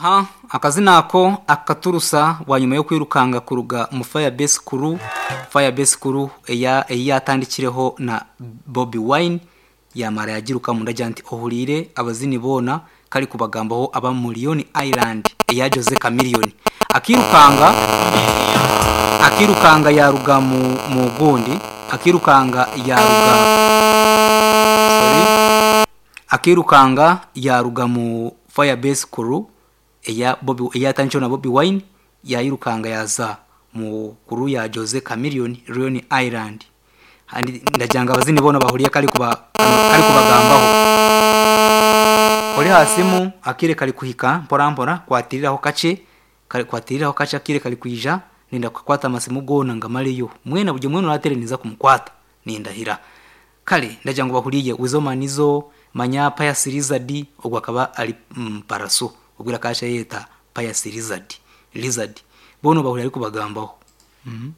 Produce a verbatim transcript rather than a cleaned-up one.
Aha, akazina ako akaturusa bwanyuma y'okwirukanga kuruga mu Firebase Crew. Firebase Crew eya eyatandikireho na Bobi Wine, yamara yagiruka mundagira nti ohuriire abazini boona kari kubagambaho aba Mullion Island eya Jose Chameleone. Akirukanga akirukanga yaruga mu mu gundi, akirukanga yaruga, sorry, akirukanga yaruga mu Firebase Crew eya Bobi, eyatandikireho na Bobi Wine, yayirukanga yaza mu crew ya Jose Chameleone, Leone Island. Handi ndagira ngo abazini boona bahuriye kari kuba kari kubagambaho. Ori hasimu akire kari kuhika mpora mpora, kwatiriraho kace kari kwatiriraho kace, akire kari kwija nenda kukwata amasimu gona ngamaleyo mwena buri mwena uratereniza kumukwata nindahira. Kale ndagira ngo bahuriye Weasel Manizo manya Pius Lizard, ogwo akaba ari mm, Paraso ogwira kasha yeta Pius Lizard Lizard bono bahuriye ari kubagambaho. mm -hmm.